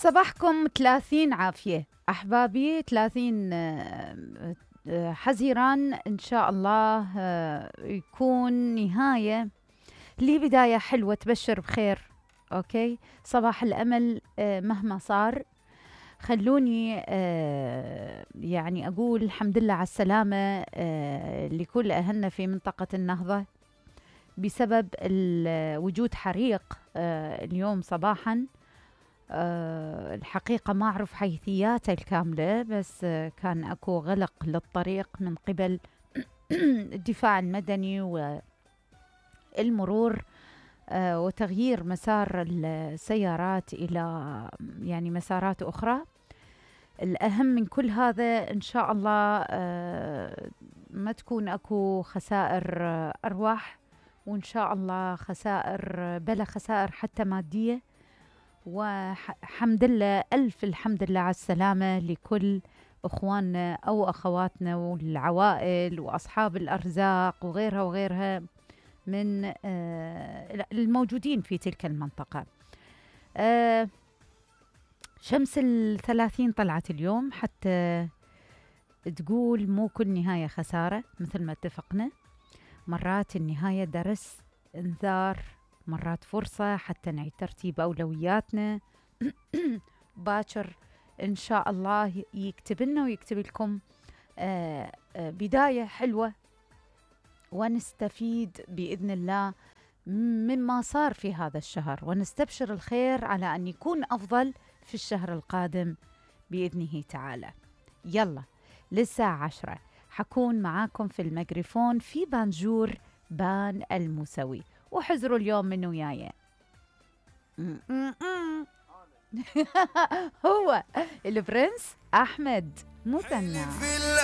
صباحكم 30 عافية أحبابي، 30 حزيران إن شاء الله يكون نهاية لبداية حلوة تبشر بخير. أوكي، صباح الأمل مهما صار. خلوني يعني أقول الحمد لله على السلامة لكل أهلنا في منطقة النهضة بسبب وجود حريق اليوم صباحاً. الحقيقة ما أعرف حيثياته الكاملة، بس كان أكو غلق للطريق من قبل الدفاع المدني والمرور وتغيير مسار السيارات إلى يعني مسارات أخرى. الأهم من كل هذا إن شاء الله ما تكون أكو خسائر أرواح، وإن شاء الله خسائر بلا خسائر حتى مادية. وحمد لله ألف الحمد لله على السلامة لكل أخواننا أو أخواتنا والعوائل وأصحاب الأرزاق وغيرها وغيرها من الموجودين في تلك المنطقة. شمس 30 طلعت اليوم حتى تقول مو كل نهاية خسارة، مثل ما اتفقنا. مرات النهاية درس انذار، مرات فرصة حتى نعيد ترتيب أولوياتنا. باكر إن شاء الله يكتب لنا ويكتب لكم بداية حلوة، ونستفيد بإذن الله مما صار في هذا الشهر، ونستبشر الخير على أن يكون أفضل في الشهر القادم بإذنه تعالى. يلا للساعة 10 حكون معاكم في الميكروفون في بانجور بان الموسوي، وحزروا اليوم من وياي. هو البرنس أحمد مثنى.